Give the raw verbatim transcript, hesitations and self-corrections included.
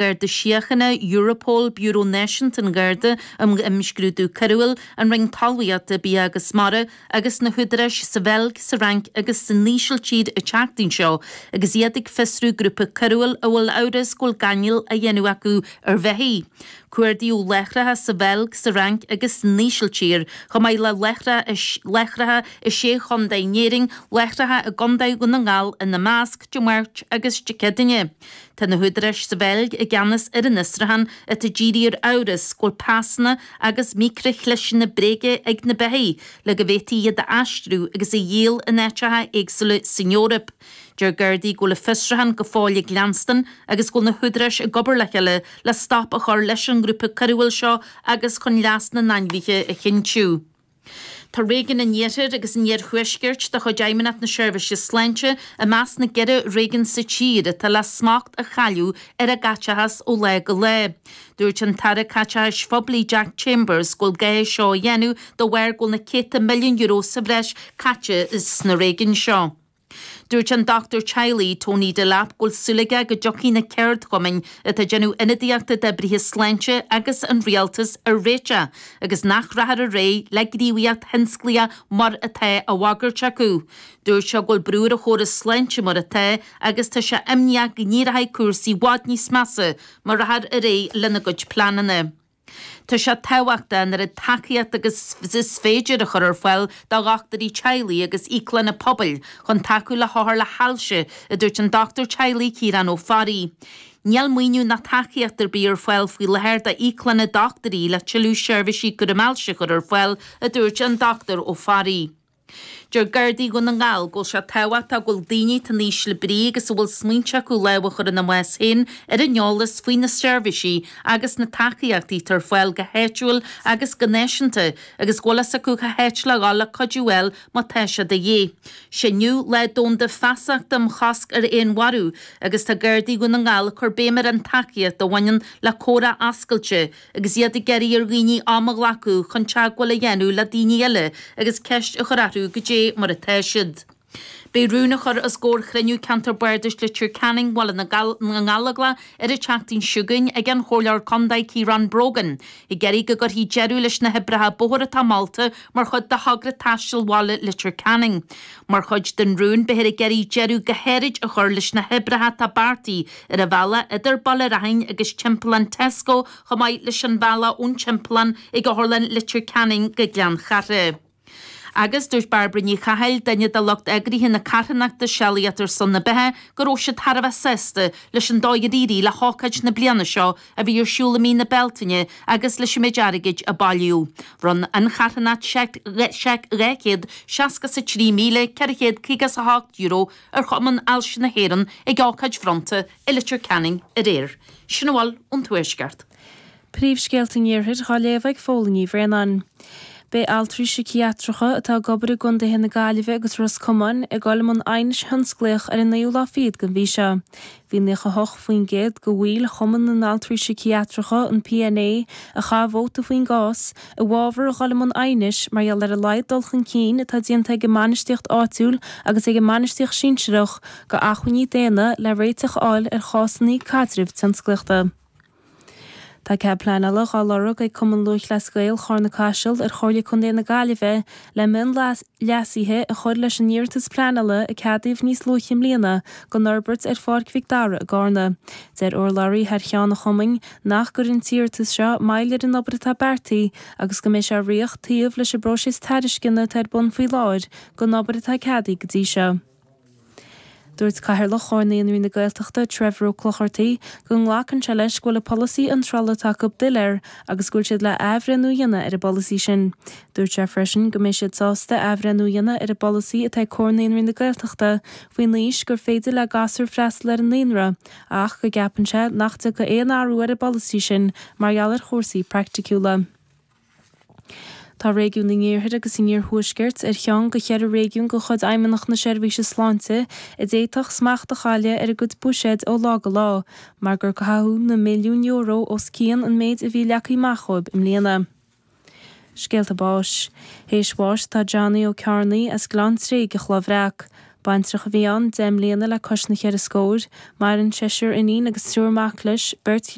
Garda Síochána, Europol, Biúró Náisiúnta an Gharda um Imscrúdú Coiriúil, an Roinn Talmhaíochta, Bia agus Mara agus na húdaráis sa Bheilg, sa Fhrainc agus san Ísiltír an tseachtain seo agus iad ag fiosrú grúpa coiriúil a bhfuil amhras go bhfuil gáinneáil á dhéanamh acu ar bheithígh. Cuardaíodh láithreacha sa Bheilg, sa Fhrainc agus san Ísiltír, chomh maith le láithreacha i sé chontae in Éirinn, láithreacha i gContae Dhún na nGall ina measc, Dé Máirt agus Dé Céadaoine. Tá na húdaráis sa Bheilg i gceannas ar an fhiosrúchán atá dírithe ar amhras go bhfuil pasanna agus micrichliseanna bréige ag na beithígh le go bhféadfaí iad a aistriú agus a dhíol in áiteacha éagsúla san Eoraip. Deir Gardaí go bhfuil an fiosrúchán go fóill ag leanstan agus go bhfuil na húdaráis ag obair le chéile le stop a chur leis an ngrúpa coiriúil seo agus chun leas na n-ainmhithe a chinntiú. Tá réigiún an Iarthair agus an Iarthuaiscirt de chuid Fheidhmeannacht na Seirbhíse Sláinte i measc na gceithre réigiún sa tír atá le smacht a chailleadh ar a gcaiteachas ó lá go lá. Dúirt an tAire Caiteachais Phoiblí Jack Chambers go bhfuil gá é seo a dhéanamh de bharr go bhfuil na céadta milliún euro sa bhreis caite sna réigiúin seo. Dúirt an dochtúir teaghlaigh Tony Delap go bhfuil súil aige go dtiocfaidh na ceardchumainn atá ag déanamh ionadaíochta d'oibrithe sláinte agus an rialtas ar réiteach agus nach rachfar ar aghaidh le gníomhaíocht thionsclaíoch mar atá á bhagairt acu. Dúirt sé go bhfuil brú ar an chóras sláinte mar atá agus tá sé imníoch go n-éireoidh cúrsaí i bhfad níos measa má rachfar ar aghaidh lena gcuid pleananna. Tá sé tábhachtach an oiread tacaíocht agus is féidir a chur ar fáil do dhochtúirí teaghlaigh agus íoclanna pobail chun tacú le hothair le hailse, a dúirt an dochtúir teaghlaigh Ciarán Ó Fearraigh. Níl maoiniú ná tacaíocht ar bith ar fáil faoi láthair d'íoclanna dochtúirí le tuilleadh seirbhísí cúraim ailse a chur ar fáil, a dúirt an Dochtúir Ó Fearraigh. Deir Gardaí Dhún na nGall go bhfuil sé tábhachtach go bhfuil daoine atá in ísle brí agus a bhfuil smaointe acu lámh a chur ina mbás féin ar an eolas faoi na seirbhísí agus na tacaíochtaí atá ar fáil go háitiúil agus go náisiúnta agus go bhfuil fhios acu cá háit le dhul le cuidiú a fháil má tá sé de dhíth. Sé inniu Lá Domhanda Feasachta um Chosc ar Fhéinmharú agus tá Gardaí Dhún na nGall ag cur béim ar an tacaíocht a bhaineann le comhrá oscailte agus iad ag iarraidh ar dhaoine am a ghlacadh chun teagmháil a dhéanamh le daoine eile agus ceist a chur orthu goidé mar atá siad. Beidh rún á chur os comhair chruinniú Ceantar Bardais Leitir Ceanainn Bhaile na nGallóglach ar an tseachtain seo chugainn ag an Chomhairleoir Contae Ciarán Brogan, ag iarraidh go gcuirfí deireadh leis na hoibreacha bóthair atá molta mar chuid de thogra taistil bhaile Leitir Ceanainn. Mar chuid den rún, beifear ag iarraidh deireadh go háirid a chur leis na hoibreacha atá beartaithe ar an bhealach idir Baile Raithin agus Timpeallán Tesco chomh maith leis an bhealach ón Timpeallán ag Otharlann Leitir Ceanainn go Gleann Chatha. Agus dúirt Bairbre Ní Chathail, duine de lucht eagraithe na carthanachta Sealaíocht ar son na Beatha, go raibh siad thar a bheith sásta leis an dóigh ar éirigh le hócáid na bliana seo a bhí ar siúl i mí na Bealtaine agus leis an méid airgid a bailíodh. Bhronn an charthanacht seic dhá chéad seasca is a trí míle ceithre chéad caoga is a hocht euro ar Chumann Ailse na hÉireann ag ócáid bhronnta i Leitir Ceanainn aréir. Sin a bhfuil ón Tuaisceart. Príomhscéalta an Iarthair á léamh ag Fódhla Ní Bhraonáin. Beidh altraí síciatracha atá ag obair i gcontaetha na Gaillimhe agus Ros Comáin ag dul i mbun aighnis thionsclaíoch ar an naoú lá fichead den mhí seo. Bhí naocha hocht faoin gcéad de bhaill Chumann na nAltraí Síciatracha, an PNA, a chaith vóta faoin gcás, i bhfabhar a dhul i mbun aighnis mar gheall ar a laghad dul chun cinn atá déanta ag an mbainistíocht áitiúil agus ag an mbainistíocht sinsearach go acmhainní daonna le réiteach a fháil ar chásanna caidrimh tionsclaíochta. Tá cead pleanála dhá lorg ag Cumann Lúthchleas Gael Charna Caiseal ar Chomhairle Contae na Gaillimhe le mionleasuithe a chur leis an iarratas pleanála a ceadaíodh níos luaithe i mbliana don fhorbairt ar Pháirc Mhic Dara i gCarna. Deir urlabhraí thar cheann an chumainn nach gcuireann an t-iarratas seo moill ar an obair atá beartaithe agus go mbeidh sé á rith taobh leis an bpróiseas tairisceana atá ar bun faoi láthair don obair atá ceadaithe go dtí seo. Dúirt Cathaoirleach Chomhar Naíonraí na Gaeltachta, Trevor Ó Clochartaigh, go nglacann sé leis go bhfuil an polasaí iontrála atá acu doiléir agus go bhfuil siad le athbhreithniú a dhéanamh ar an bpolasaí sin. Dúirt sé freisin go mbeidh siad sásta athbhreithniú a dhéanamh ar an bpolasaí atá ag Comhar Naíonraí na Gaeltachta faoin aois gur féidir le gasúir freastal ar an naíonra ach go gceapann sé nach dtiocfaidh aon athrú ar an bpolasaí sin mar gheall ar chúrsaí praiticiúla. Tá réigiún an Iarthair agus an Iarthuaiscirt ar cheann de cheithre réigiún de chuid Fheidhmeannacht na Seirbhíse Sláinte a d'fhéadfadh smacht a chailleadh ar a gcuid buiséid ó lá go lá mar gur caitheadh na milliúin euro os cionn an méid a bhí leagtha amach dóibh i mbliana. Scéalta báis. Théis bháis tá Johnny Ó Cearnaigh as Gleann Tréig i Chloich Bhreac. Baintreach a bhí ann deich mbliana le cois na ceithre scór, maireann seisear iníon agus triúr mac leis, beirt